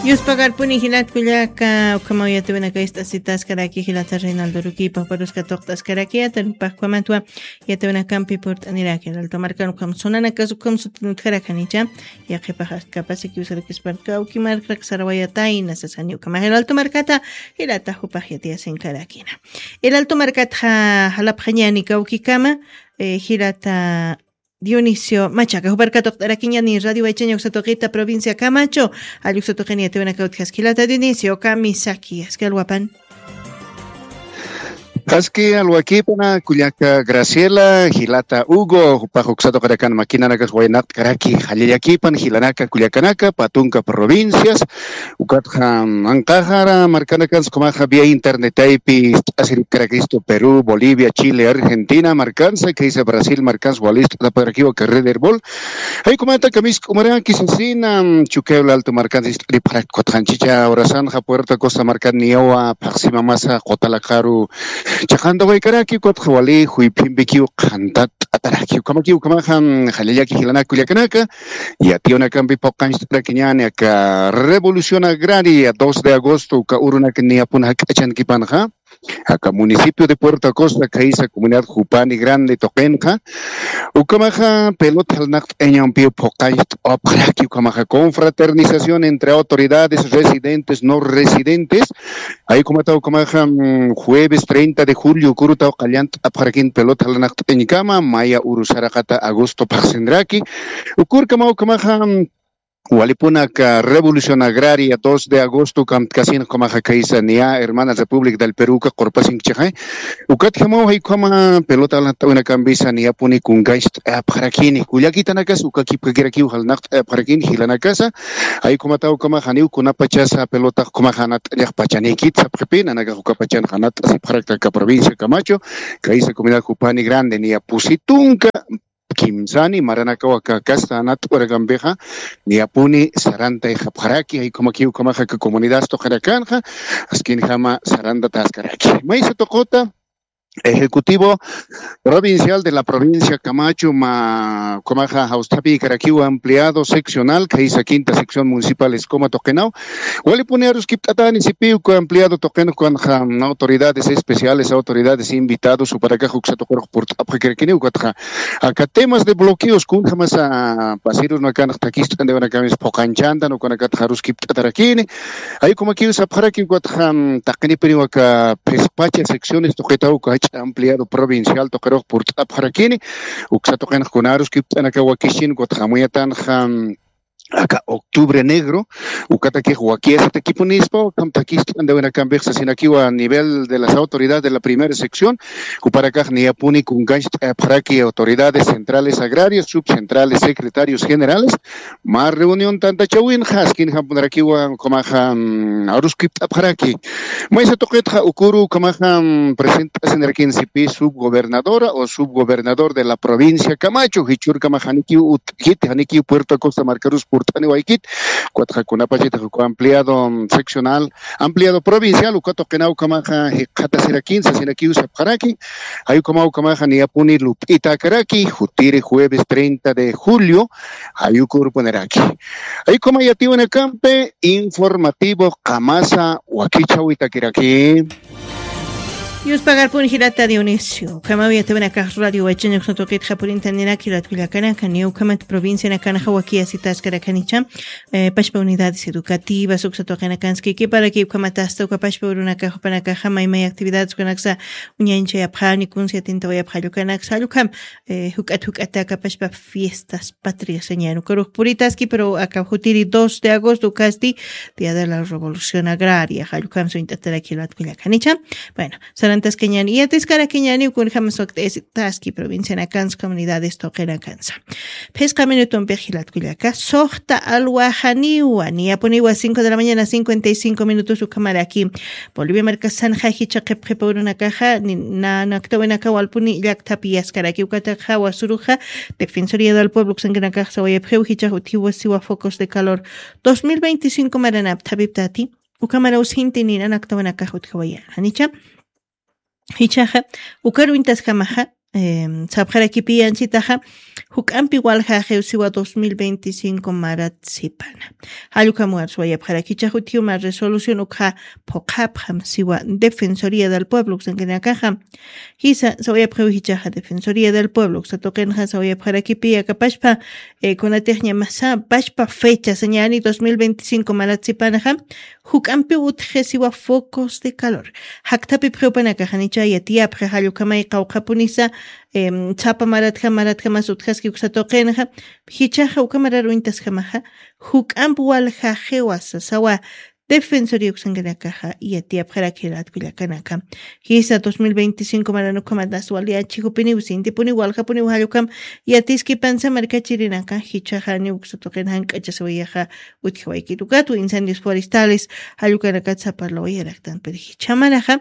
Yuspagarpuni jilat kullaka, ukhamaw yatawinaka ist'asitaskaraki jilata Reinaldo Aruquipa, juparus katuqt'askaraki, yatawinakax ukhamatwa yatawinakampi purt'aniraki, El Alto markan ukham sunanakas ukham sutinutkarakanicha, yaqhipax askapasikiw sarakisparka, uki markrak sarawayatayna sasani ukhamax El Alto markata, jilata jupax yatiyasinkarakiñäni. El Alto markatxa jalapxañäni kawkikama, eh, jilata Dionisio Machaca, jupar katuqt'arakiñäni Radio Waychaña uksa tuqita provincia Camacho, jall uksa tuqini yatawinaka utjaski jilata Dionisio, kamisaki, aski alwapan. Aski alwakipana, kullaka Graciela, jilata Hugo, jupax uksa tuqirakan makinanakas waynaqt'karaki, jallallakipan, jilanaka, kullakanaka, pä tunka provincias, ukatxa, mm, anqaxara markanakansa ukhamaxa vía internetaypi ist'asiripkarakista Perú, Bolivia, Chile, Argentina markansa, khaysa Brasil markansa wali ist'atapkarakiwa aka Red Erbol. Jay ukhamata kamisk'umaraki sasina, mm, Chukiyawu Alto markansa ist'aripxaraki, ukatxa anchhicha horasanxa Puerto Acosta markan niyawa phaxsimamasa quta laqharu chiqantawaykaraki, ukatxa wali juyphimpikiw qhantat'ataraki. Ukhamakiw ukhamaxa, mm, jallallaki jilanaka kullakanaka, yatiyawinakampi phuqañcht'arakiñäni aka Revolución Agraria dos de agosto, uka urunak niyapun jak'achankipanxa, aka municipio de Puerto Acosta, khaysa comunidad Jupani Grande tuqinxa, ukhamaxa pelota jalnaqt'ayañampiw phuqañcht'apxaraki, ukhamaxa confraternización entre autoridades residentes, no residentes, Jay ukhamataw ukhamaxa, mm, jueves treinta de julio, uka urutaw qallant'apxarakin pelota jalnaqt'añkama, maya uru saraqata agosto phaxsinraki. Uka urkamaw ukhamaxa, mm, walipuna aka Revolución Agraria dos de agosto kamtkasin ukhamaxa khaysa niya Hermana República del Perú uka qurpasinkchixay. Ukatjamaw jay ukhama pelota jalnaqt'awinakampisa niyapuni kunkañcht'ayapxarakini. Kullakitanakas uka kipkakirakiw jalnaqt'ayapxarakini jilanakasa. Jay ukhamataw ukhamax janiw kunapachasa pelotax ukhamax janat'añax pachanikit sapxipi, nanakax uka pachan janat'asipxarakta aka provincia Camacho, khaysa comunidad Jupani Grande niya pusi tunka kimsani maranakawa kakasta anat'urakampixa niyapuni sarantayxapxaraki. Jaykumakiw kamaxa ka comunidad tuqirakanxa askinjama sarantataskarakimaysa tuquta ejecutivo provincial de la provincia camacho ma kamaxa jawstapikarakiwa ampliado seccional kaysa quinta sección municipal escoma tuqinaw walipuni aruskipt'atani sipiw ka ampliado tuqinxkanxa autoridades especiales autoridades invitados uparakax uksa tuqirux purt'apxakirakiniw katxa aka temas de bloqueos kunjamasa pasirus nakanx takist'andiwanakamis phuqanchanta nukanakatxa aruskipt'atarakini. Aykumakiw sapxaraki ukatxa taqinipiniw aka phispacha secciones tuqitaw kach'a ampliado provincial tuqirux purt'apxarakini. Uksa tuqinxkunaruskipt'anaka wakishin ukatxa amuyatanxa aka octubre negro ukatakix wakiasatakipunispa ukham takist'andawinakampix sasinakiwa a nivel de las autoridades de la primera sección uparakax niyapuni kunkanch t'ayapxaraki autoridades centrales agrarias subcentrales secretarios generales mar reunión tantachawinxa askinjampunarakiwa ukhamaxa aruskipt'apxaraki. Maysa tuqitxa ukuru ukhamaxa present'asinarakin sipi subgobernadora o subgobernador de la provincia camacho jichhurkamax janikiw utkiti janikiw puerto acosta markarus purt'aniwaykit ukatxa kunapachitix uka ampliado seccional ampliado provincial uka tuqinaw ukhamaxa jikxatasirakin sasinakiw sapxaraki. Jay ukhamaw ukhamaxa niyapuni lup'itakaraki jutiri jueves treinta de julio jay ukurpuniraki. Jay ukhama yatiwinakampi informativo qamasa wakichhawitakiraki. Yuspagarpun jilata Dionisio ukhamaw yatiwinakax radio wachaña uksna tuqitxa purintaniraki jilatkullakanaka niya ukhamat provincianakanxa wakiyasitaskarakanicha pashpa unidades educativas uksa tuqinakanskiki para que ukhamatasta uka pashpa urunakax upanakaxa maymay actividades ukanaksa uñañchayapxani kunsi atintawayapxallukanaksa allukham juk'at juk'ata aka pashpa fiestas patrias señan ukarux puritaski pero aka jutiri dos de agosto ukasti día de la revolución agraria jallukam suñt'ataraki jilatkullakanicha. Bueno, sarantaskañani yatiskarakiñani ukunjama sukt'isitaski provincianakansa comunidades tuqinakansa. Phisqa minutumpix jilatkullaka suxta alwajaniwa niyapuniwa cinco de la mañana cincuenta y cinco minutos ukhamaraki. Bolivia markasanxa jichha qhipqhipa urunakaxa nanaktawinaka walpuni llakthapi yaskaraki ukataxa wasuruxa defensoría del pueblo uksankanakax sawayapxiw jichhax utjiwa siwa focos de calor dos mil veinticinco maranap thapiptati. Ukhamaraw sinti ninanaktawinakax utjawaya janicha jichhaxa ukaruñtasjamaxa sapxarakipiyanchitaxa juk'ampi waljaxiw siwa dos mil veinticinco marat sipana. Jallukam warsuwayapxaraki jichhax utjiw mar resolución ukxa phuqhapxam siwa defensoría del pueblo uksankanakaxa jisa sawayapxiw jichhaxa defensoría del pueblo uksa tuqinxa sawayapxarakipi akapashpa kunatixñamasa pashpa fecha sañani dos mil veinticinco marat sipanaxa juk'ampiw utjxisiwa focos de calor. Jakthapipxiw panakaxa nicha yatiyapxi jallukhamay qawqhapunisa sapa maratjam maratjamas utjaski uksa tuqinxa jichhaxa ukhamarar uñtasjamaxa juk'amp waljaxiwa sasawa defensoría uksankanakaxa yatiyapxarak jilatkullakanaka. Jisa dos mil veinticinco maranukhamat aswaliyachijupiniw sintipuniw waljapuniw jallukam yatiskipansa markachirinaka jichhaxaniw uksa tuqin jank'achasiwayaxa utjawaykit ukatwa incendios forestales jallukanakat saparlawayaraktan pero jichhamanaxa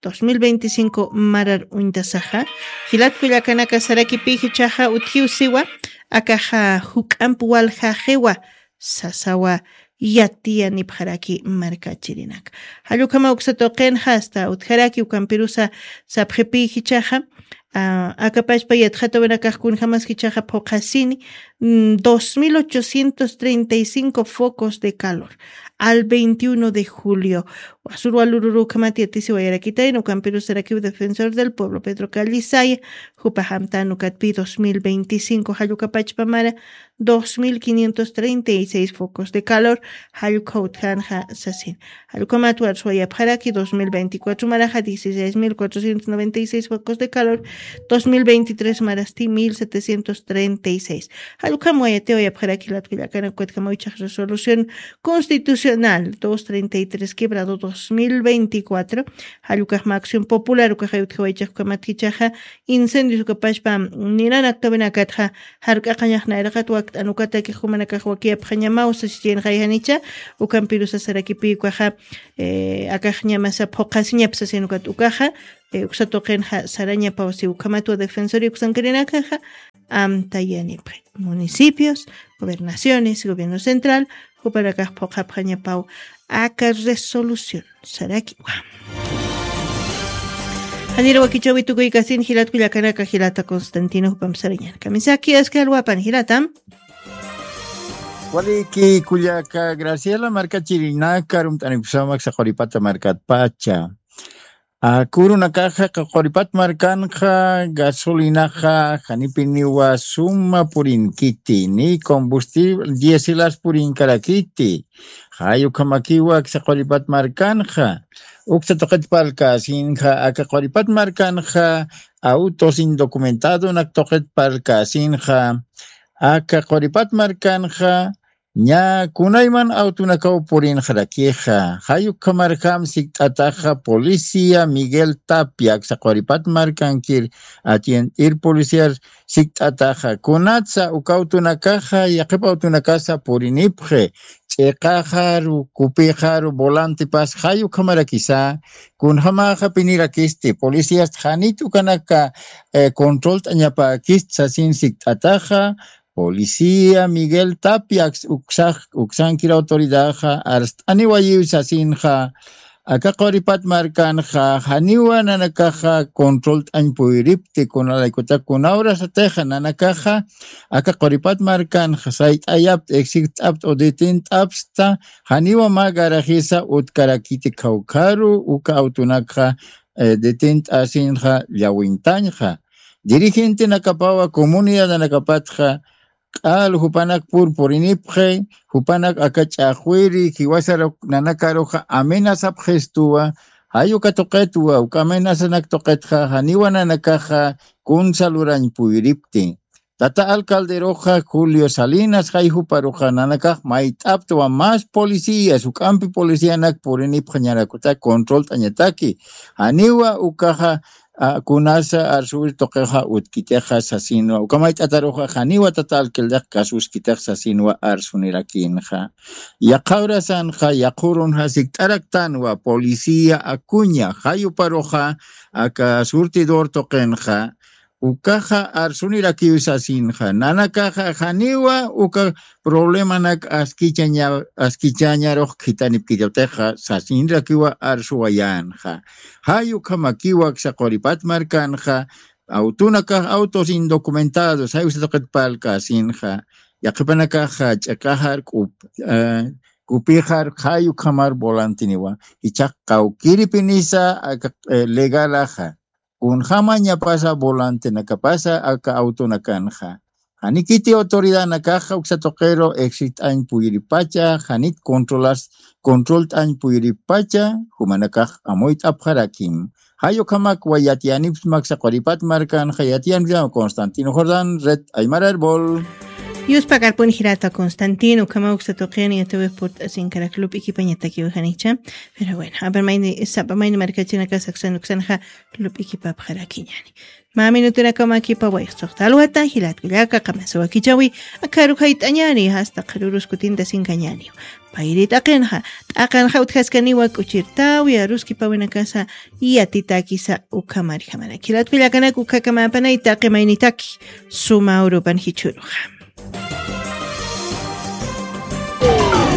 dos mil veinticinco marar uñtasaxa jilatkullakanaka sarakipi jichhaxa utjiw siwa akaxa juk'amp waljaxiwa sasawa yatiyanipxaraki markachirinak. Jallukhama uksa tuqinxa asta utjaraki ukampirusa sapxipi jichhaxa akapashpa yatxatawinakax kunjamas jichhaxa phuqhasini dos mil ochocientos treinta y cinco focos de calor al veintiuno de julio. Wasurwa lururukhamat yatisiwayarakitayna ukampirusarakiw defensor del pueblo pedro callisaya jupaxamtan ukatpi dos mil veinticinco jallukapachpamara dos mil quinientos treinta y seis focos de calor jallukha utjanxa sasin. Jallukhamat warsuwayapxaraki dos mil veinticuatro maraxa dieciséis mil cuatrocientos noventa y seis focos de calor dos mil veintitrés marasti mil setecientos treinta y seis. Jallukham wayatiwayapxaraki latkullakana ukatkhama wichax resolución constitucional dos treinta y tres quebrado dos mil veinticuatro. Jallukaxma acción popular ukaxay utjawaychax ukamat jichhaxa incendios ukapashpa ninanaktawinakatxa jark'aqañax nayraqat wakt'an ukatakix jumanakax wakiyapxañamaw sasichiyinxayjanicha. Ukampirusa sarakipi ukaxa akaxñamasa phuqhasiñap sasin ukat ukaxa eh, uksa tuqinxa sarañapaw si ukhamatwa Defensoría uksankirinakaxa amtayanipxi. Municipios, gobernaciones, gobierno central, jupanakax phuqhapxañapaw aka resolución sarakiwa. Janir wakichäwi tukuykasin jilat kullakanaka, jilata Constantino, jupam sarañan kamisaki, aski alwapan jilata. Waliki kullaka Graciela, markachirinaka, arumt'anipxsma aksa Quripata markatpacha. Akürunakaxa Quripata markanxa gasolinaxa janipiniwa suma purinkiti, ni combustible, diésel as purinkarakiti. Jay ukhamakiwa aksa Quripata markanxa. Uksa tuqit parlkäsinxa, aka Quripata markanxa autos indocumentadonak tuqit parlkäsinxa, aka Quripata markanxa ña kunayman autonakaw purinxarakixa. Jay ukhamarjam sikt'ataxa policía Miguel Tapia, aksa Quripata markankir atiendir policíar sikt'ataxa. Kunatsa uka autonakaxa, yaqhip autonakasa purinipxi, ch'iqaxaru, kupixaru, volantepas, jay ukhamarakisa, kunjamaxa pinirakisti, policías janit ukanaka, eh, controlt'añapäkisti sasin sikt'ataxa, policía Miguel Tapia, uksax, uksankir autoridaxa, arst'aniwayiw sasinxa, aka Quripata markanxa, janiwa nanakaxa controlt'añ puyripti, kunalaykutaka, kuna horasatixa nanakaxa, aka Quripata markanxa, sayt'ayapta, exigt'apta, o detent'apsta, janiwa mä garajisa utkarakiti, khawkharu, uka autonakxa, eh, detent'asinxa, llawintañxa. Dirigentenakapawa, comunidadanakapatxa, q'al jupanak purpurinipxi, jupanak aka ch'axwiri, jiwasaruk nanakaruxa amenazapxistuwa, jay uka tuqitwa, uka amenazanak tuqitxa, janiwa nanakaxa, kunsa lurañ puyripti. Tata alcalderuxa, Julio Salinas, jay juparuxa, nanakax mayt'aptwa más policías, juk'ampi policíanak purinipxañarakuta, controlt'añataki. Janiwa ukaxa, a, kunasa arsuwir tuqixa utkitixa sasinwa. Uka mayt'ataruxa janiwa tata alcaldex kasuskitix sasinwa arsunirakinxa. Yaqha horasanxa, yaqha urunxa sikt'araktanwa policía Acuña, jay juparuxa, aka surtidor tuqinxa, ukaxa arsunirakiw sasinxa. Nanakaxa janiwa uka problemanak askichaña-, askichañarux khitanipkitatixa sasinrakiwa arsuwayänxa. Jay ukhamakiwa aksa Quripata markanxa, autonakax, autos indocumentados, jay uksa tuqit parlkäsinxa, yaqhipanakaxa ch'iqaxar, kup-, eh, kupixar, jay ukhamar volanteniwa, jichhax qawkiripinisa, aka, eh, legalaxa. Kunjamañapasa volantenakapasa aka autonakanxa. Janikiti autoridadnakaxa uksa tuqiru exigt'añ puyiripacha, janit controlas, controlt'añ puyiripacha, jumanakax amuyt'apxarakim. Jay ukhamakwa yatiyanipxsma aksa Quripata markanxa, yatiyanipxsma Constantino Jordán, Red Aymara Erbol. Yuspakarpun jilata Constantino, ukhama uksa tuqin yatiwix purt'asinkarak lup'ikipañatakiw janicha. Pero bueno, a ver, mayni, sapa mayni markachinakasa uksan, uksanxa lup'ikipapxarakiñäni. Mä minutunakaw mä kipa wayqsuxta alwata, jilat kullaka, qamasa wakichäwi, akharu jayt'añäni, hasta qharürus kutintasinkañäniw. Payri t'aqinxa, t'aqinxa utjaskaniwa k'uchirtäwi, aruskipawinakasa, yatitäkisa ukhamarjamarak. Jilat kullakanak, ukhakamäpanay taqi maynitaki, suma urupan jichhüruxa.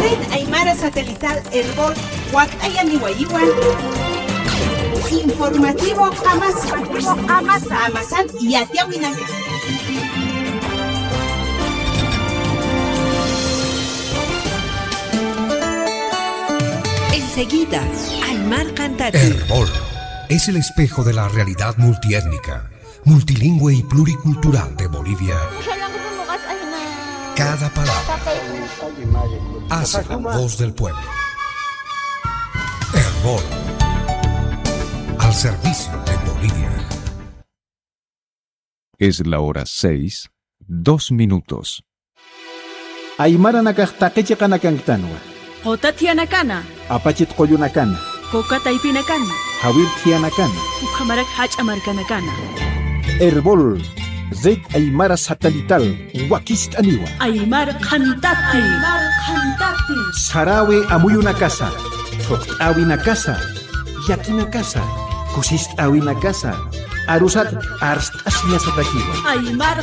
Red Aymara Satelital Erbol wakt'ayaniwayiwan. Informativo Qamasa. Qamasa. Qamasan yatiyawinak. Enseguida, Aymar Cantata. Erbol es el espejo de la realidad multiétnica, multilingüe y pluricultural de Bolivia. Cada palabra hace la voz del pueblo. Erbol, al servicio de Bolivia. Es la hora seis, dos minutos. Aymaranakax taqi chiqanakanktanwa. Quta thiyanakana. Apachit qullunakana. Coca taypinakana. Jawir thiyanakana. Ukhamarak jach'a markanakana. Erbol, Red Aymara Satelital, wakist'aniwa. Aymar Qhantati. Aymar Qhantati. Sarawi amuyunakasa, thuqt'äwinakasa, yakinakasa, Kusist'äwinakasa arusat arst'asiñasatakiwa. Aymar